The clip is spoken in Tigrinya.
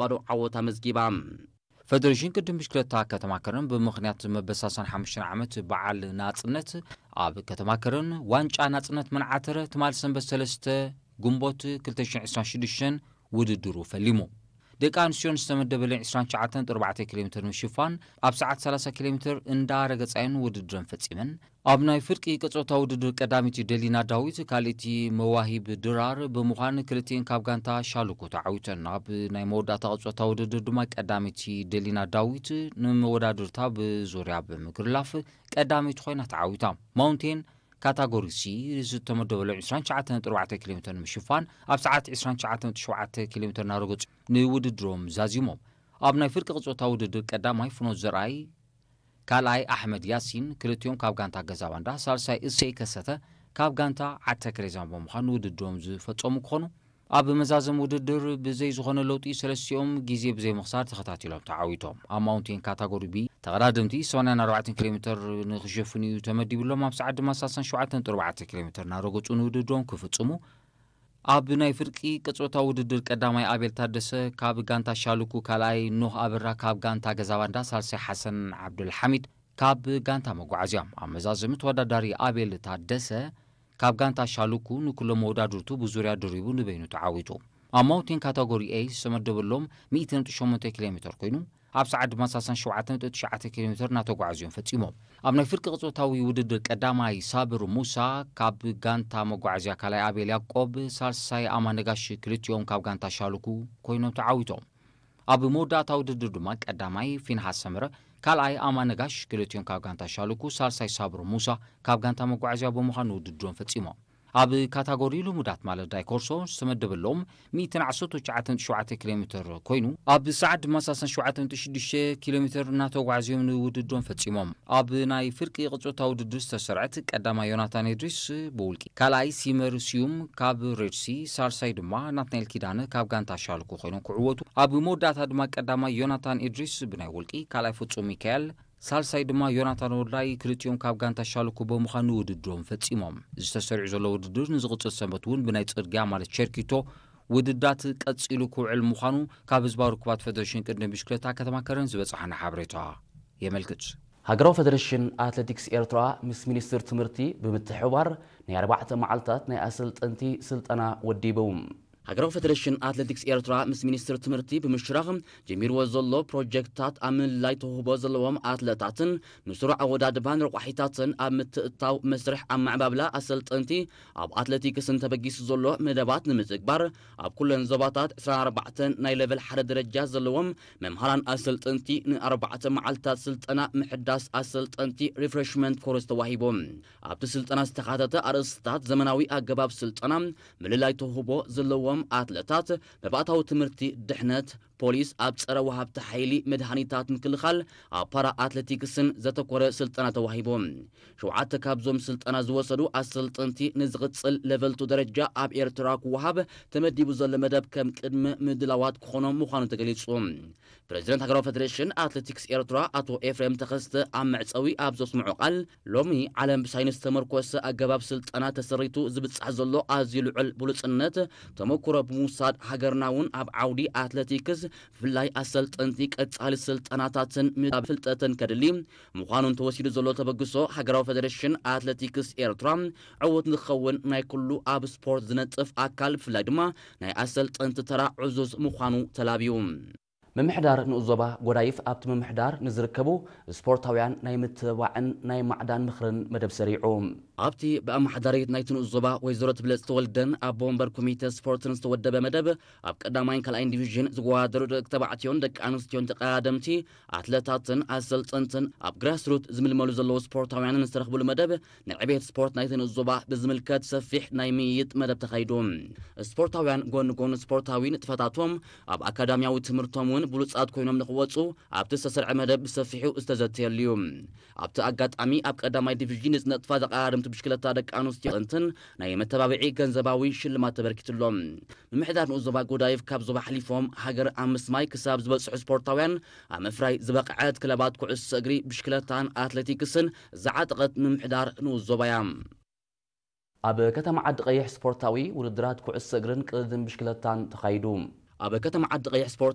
ባዶ ዓወት ኣመዝጊባ። ፈደሬሽን ቅድም ብሽክለታ ከተማ ከረን ብምኽንያት መበል ሰላሳን ሓሙሽተን ዓመት በዓል ናጽነት ኣብ ከተማ ከረን ዋንጫ ናጽነት መዓተረ ትማል ሰንበት ሰለስተ ግንቦት ክልተ ሽሕን ዕስራን ሽዱሽተን ውድድሩ ፈሊሙ። ደቂ ኣንስትዮን ዝተመደበለን ዕስራን ትሽዓተን ነጥቢ ኣርባዕተ ኪሎ ሜትር ምሽፋን ኣብ ሰዓት ሰላሳ ኪሎ ሜትር እንዳረገጻየን ውድድረን ፈጺመን። ኣብ ናይ ፍርቂ ቅጾታ ውድድር ቀዳሚቲ ደሊና ዳዊት፣ ካልእቲ መዋሂብ ድራር ብምዃን ክልቲኤን ካብ ጋንታ ሻሉኩ ተዓዊተን። ኣብ ናይ መወዳእታ ቅጾታ ውድድር ድማ ቀዳሚቲ ደሊና ዳዊት ንመወዳድርታ ብዙርያ ብምግርላፍ ቀዳሚት ኮይና ተዓዊታ። ማውንቴን ካታጎሪ ሲ ዝተመደበሉ ዕስራን ትሽዓተን ነጥቢ ኣርባዕተ ኪሎ ሜትር ንምሽፋን ኣብ ሰዓት ዕስራን ትሽዓተን ነጥቢ ሸውዓተ ኪሎ ሜትር እናረገጹ ንውድድሮም ዛዚሞም። ኣብ ናይ ፍርቂ ቅጾታ ውድድር ቀዳማይ ፍኖት ዘርኣይ፣ ካልኣይ ኣሕመድ ያሲን፣ ክልቲኦም ካብ ጋንታ ገዛባንዳ፣ ሳልሳይ እሰይ ከሰተ ካብ ጋንታ ዓተከሬዛን ብምዃን ውድድሮም ዝፈጸሙ ክኾኑ፣ ኣብ መዛዘም ውድድር ብዘይ ዝኾነ ለውጢ ሰለስቲኦም ግዜ ብዘይ ምኽሳር ተኸታቲሎም ተዓዊቶም። ኣብ ማውንቴን ካታጎሪ ቢ ተቐዳደምቲ ሰማንያን ኣርባዕተን ኪሎ ሜትር ንኽሸፍኑ እዩ ተመዲብሎም። ኣብ ሰዓት ድማ ሰላሳን ሸውዓተን ነጥቢ ኣርባዕተ ኪሎ ሜትር እናረገጹ ንውድድሮም ክፍጽሙ። ኣብ ናይ ፍርቂ ቅጾታ ውድድር ቀዳማይ ኣቤል ታደሰ ካብ ጋንታ ሻሉኩ፣ ካልኣይ ኖህ ኣበራ ካብ ጋንታ ገዛባንዳ፣ ሳልሳይ ሓሰን ዓብዱልሓሚድ ካብ ጋንታ መጓዓዝያ። ኣብ መዛዘሚ ተወዳዳሪ ኣቤል ታደሰ ካብ ጋንታ ሻሉኩ ንኩሎም መወዳድርቱ ብዙርያ ድሪቡ ንበይኑ ተዓዊቱ። ኣብ ማውንቴን ካታጎሪ ኤ ዝተመደበሎም ሚእቲ ነጥቢ ሸሞንተ ኪሎ ሜትር ኮይኑ፣ ኣብ ሰዓት ድማ ሰላሳን ሸውዓተን ነጥቢ ትሽዓተ ኪሎ ሜትር እናተጓዓዙ እዮም ፈጺሞም። ኣብ ናይ ፍርቂ ቅጾታዊ ውድድር ቀዳማይ ሳብር ሙሳ ካብ ጋንታ መጓዓዝያ፣ ካልኣይ ኣቤል ያዕቆብ፣ ሳልሳይ ኣማነጋሽ ክልቲኦም ካብ ጋንታ ሻሉኩ ኮይኖም ተዓዊቶም። ኣብ መወዳእታ ውድድር ድማ ቀዳማይ ፊንሃስ ሰመረ፣ ካልኣይ ኣማነጋሽ ክልቲኦም ካብ ጋንታ ሻሉኩ፣ ሳልሳይ ሳብር ሙሳ ካብ ጋንታ መጓዓዝያ ብምዃን ውድድሮም ፈጺሞም። ኣብ ካታጎሪ ልሙዳት ማለት ዳይኮርሶ ዝተመደበሎም ሚእትን ዓሰርተ ትሽዓተን ነጥቢ ሸውዓተ ኪሎ ሜትር ኮይኑ፣ ኣብ ሰዓት ድማ ሰላሳን ሸውዓተን ነጥቢ ሽዱሽተ ኪሎ ሜትር እናተጓዕዝዮም ንውድድሮም ፈጺሞም። ኣብ ናይ ፍርቂ ቅጾታ ውድድር ዝተሰርዐት ቀዳማይ ዮናታን ኢድሪስ ብውልቂ፣ ካልኣይ ሲመር ስዩም ካብ ሬድሲ፣ ሳልሳይ ድማ ናትናኤል ኪዳነ ካብ ጋንታ ሻልኩ ኮይኖም ክዕወቱ። ኣብ መወዳእታ ድማ ቀዳማይ ዮናታን ኢድሪስ ብናይ ውልቂ፣ ካልኣይ ፍጹም ሚካኤል፣ ሳልሳይ ድማ ዮናታን ወልዳይ፣ ክልቲኦም ካብ ጋንታ ሻልኩ ብምዃን ንውድድሮም ፈጺሞም። ዝተሰሪዑ ዘሎ ውድድር ንዝቕጽል ሰንበት እውን ብናይ ጽርግያ ማለት ቸርኪቶ ውድዳት ቀጺሉ ክውዕል ምዃኑ ካብ ህዝባዊ ርክባት ፈደሬሽን ቅድድም ብሽክለታ ከተማ ከረን ዝበጽሓና ሓበሬታ የመልክት። ሃገራዊ ፈደሬሽን ኣትሌቲክስ ኤርትራ ምስ ሚኒስትር ትምህርቲ ብምትሕብባር ናይ ኣርባዕተ መዓልታት ናይ ኣሰልጠንቲ ስልጠና ወዲቡ። ሃገራዊ ፈደሬሽን ኣትሌቲክስ ኤርትራ ምስ ሚኒስትር ትምህርቲ ብምሽራኽ ጀሚርዎ ዘሎ ፕሮጀክትታት ኣብ ምልላይ ተውህቦ ዘለዎም ኣትለታትን ንስሩዕ ኣወዳድባን ረቋሒታትን ኣብ ምትእትታው መስርሕ ኣመዓባብላ ኣሰልጠንቲ ኣብ ኣትሌቲክስን ተበጊሱ ዘሎ መደባት ንምትግባር ኣብ ኩለን ዞባታት ዕስራን ኣርባዕተን ናይ ሌቨል ሓደ ደረጃ ዘለዎም መምሃራን ኣሰልጠንቲ ንኣርባዕተ መዓልታት ስልጠና ምሕዳስ ኣሰልጠንቲ ሪፍሬሽመንት ኮርስ ተዋሂቦም። ኣብቲ ስልጠና ዝተኻተተ ኣርእስትታት ዘመናዊ ኣገባብ ስልጠና፣ ምልላይ ተውህቦ ዘለዎም ኣትለታት፣ መባእታዊ ትምህርቲ ድሕነት፣ ፖሊስ ኣብ ጸረ ወሃብቲ ሓይሊ መድሃኒታት ምክልኻል፣ ኣብ ፓራ ኣትሌቲክስን ዘተኮረ ስልጠና ተዋሂቡ። ሸውዓተ ካብዞም ስልጠና ዝወሰዱ ኣሰልጠንቲ ንዝቕጽል ሌቨል ቱ ደረጃ ኣብ ኤርትራ ክወሃብ ተመዲቡ ዘሎ መደብ ከም ቅድመ ምድላዋት ክኾኖም ምዃኑ ተገሊጹ። ፕረዚደንት ሃገራዊ ፈደሬሽን ኣትሌቲክስ ኤርትራ ኣቶ ኤፍሬም ተኸስተ ኣብ መዕጸዊ ኣብ ዘስምዖ ቃል፣ ሎሚ ዓለም ብሳይንስ ዝተመርኮሰ ኣገባብ ስልጠና ተሰሪቱ ዝብጻሕ ዘሎ ኣዝዩ ልዑል ብሉጽነት ተመኩሮ ብምውሳድ፣ ሃገርና እውን ኣብ ዓውዲ ኣትሌቲክስ ብፍላይ ኣሰልጠንቲ ቀጻሊ ስልጠናታትን ምዕባለ ፍልጠትን ከድሊ ምዃኑን ተወሲዱ ዘሎ ተበግሶ ሃገራዊ ፈደሬሽን ኣትሌቲክስ ኤርትራ ዕዉት ንክኸውን ናይ ኩሉ ኣብ ስፖርት ዝነጥፍ ኣካል ብፍላይ ድማ ናይ ኣሰልጠንቲ ተራ ዕዙዝ ምዃኑ ተላብዩ። ምምሕዳር ንኡስ ዞባ ጎዳይፍ ኣብቲ ምምሕዳር ንዝርከቡ ስፖርታውያን ናይ ምትብባዕን ናይ ማዕዳን ምኽርን መደብ ሰሪዑ። ኣብቲ ብኣመሓዳሪት ናይቲ ንኡስ ዞባ ወይዘሮ ትብለጽ ተወልደን ኣቦ ወንበር ኮሚተ ስፖርትን ዝተወደበ መደብ፣ ኣብ ቀዳማይን ካልኣይን ዲቪዥን ዝወዳደሩ ደቂ ተባዕትዮን ደቂ ኣንስትዮን ተቐዳደምቲ ኣትለታትን ኣሰልጠንትን ኣብ ግራስሩት ዝምልመሉ ዘለዉ ስፖርታውያንን ዝተረኽብሉ መደብ ንዕቤት ስፖርት ናይቲ ንኡስ ዞባ ብዝምልከት ሰፊሕ ናይ ምይይጥ መደብ ተኻይዱ። ስፖርታውያን ጎኒ ጎኒ ስፖርታዊ ንጥፈታቶም ኣብ ኣካዳሚያዊ ትምህርቶም እውን ብሉጻት ኮይኖም ንኽወጹ ኣብቲ ዝተሰርዐ መደብ ብሰፊሑ ዝተዘተየሉ እዩ። ኣብቲ ኣጋጣሚ ኣብ ቀዳማይ ዲቪዥን ንዝነጥፋ ተቐዳደምቲ ብሽክለታ ደቂ ኣንስትዮ ጥንትን ናይ መተባብዒ ገንዘባዊ ሽልማት ተበርኪትሎም። ምምሕዳር ንኡስ ዞባ ጎዳይፍ ካብ ዞባ ሓሊፎም ሃገር ኣብ ምስማይ ክሳብ ዝበጽሑ ስፖርታውያን ኣብ ምፍራይ ዝበቕዐት ክለባት ኩዕሶ እግሪ፣ ብሽክለታን ኣትሌቲክስን ዝዓጠቐት ምምሕዳር ንኡስ ዞባ እያ። ኣብ ከተማ ዓዲ ቀይሕ ስፖርታዊ ውድድራት ኩዕሶ እግርን ቅድድም ብሽክለታን ተኻይዱ። ኣብ ከተማ ዓዲ ቀይሕ ስፖርት